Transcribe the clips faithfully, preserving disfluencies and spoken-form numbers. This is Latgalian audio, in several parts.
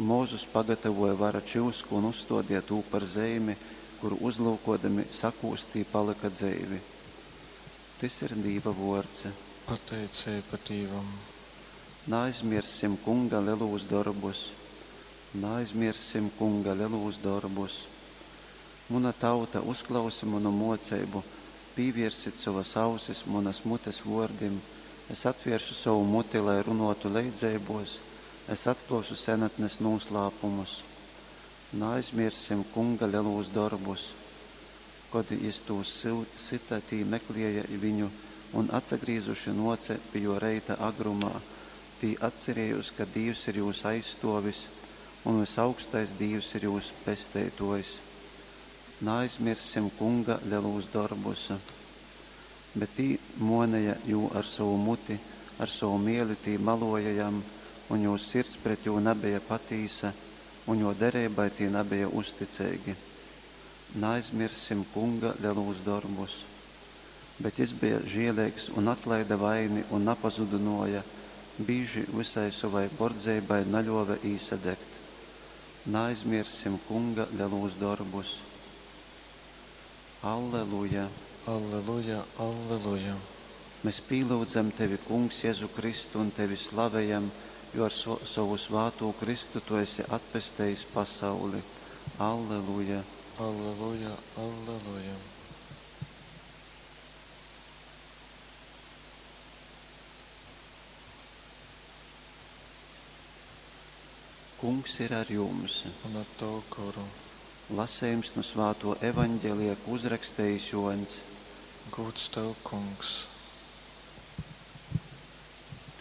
Un Mozus pagatavoja vara čyusku un uzstōdeja tū par zeimi, kuru uzlyukōdami sakūstī palyka dzeivi. Tys ir Dīva vōrds. Pateiceiba Dīvam. Naaizmierssim Kunga lelūs dorbus. Naaizmierssim Kunga lelūs dorbus. Muna tauta, uzklausi munu mōceibu, pīviersit sovas ausis munas mutes vōrdim, es atvēršu sovu muti, lai runōtu leidzeibōs, es atklōšu senatnes nūslāpumus. Naaizmierssim Kunga lelūs dorbus. Kod jys tūs syta, tī meklēja viņu un atsagrīzuši nōce pi jō reita agrumā. Tī atcerējōs, ka Dīvs ir jūs aizstōvis un Vysaugstais Dīvs ir jūs pesteitōjs. Naaizmierssim Kunga lelūs dorbus. Bet tī mōneja jū ar sovu muti, ar sovu mēli tī malōja jam, un jūs sirds pret jū nabeja patīsa, un jō dereibai tī nabeja uzticeigi. Naaizmierssim Kunga lelūs dorbus. Bet jys beja žieleigs un atlaide vaini un napazudynōja, bīži vysai sovai bordzeibai naļōve īsadegt. Naaizmierssim Kunga lelūs dorbus. Alleluja! Alleluja, alleluja! Mes pīlyudzam tevi, Kungs Jezu Kristu, un tevi slavejam, jo ar so sovu svātū krystu tu esi atpestejis pasauli. Alleluja! Alleluja, alleluja! Kungs ir ar jums. Un ar tavu goru. Lasejums nu svātō Evaņgelija, kū uzrakstejis Jōņs. Gūds tev, Kungs!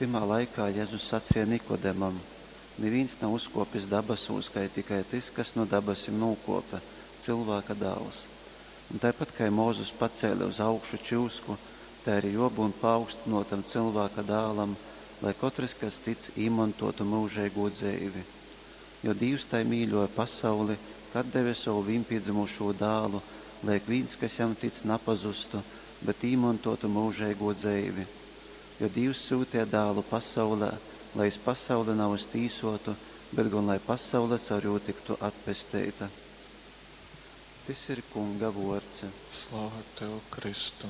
Tymā laikā Jezus saceja Nikodemam: Nivīns nav uzkōpis dabasūs, kai tikai tys, kas nu dabasim nūkōpe, Cylvāka Dāls. Un taipat kai Mozus pacēle uz augšu čyusku, tai ari jōbyun paaugstynōtam Cylvāka Dālam, lai kotrys, kas tic, īmontōtu myužeigū dzeivi. Jo Dīvs tai mīļōja pasauli, ka atdeve sovu vīnpīdzymušū Dālu, lai ikvīns, kas jam tic, napazustu, bet īmontōtu myužeigū dzeivi. Jo Dīvs syuteja Dālu pasaulē, lai jys pasauli navys tīsōtu, bet gon lai pasaule caur jū tyktu atpesteita. Tys ir Kunga vōrds. Slava tev, Kristu!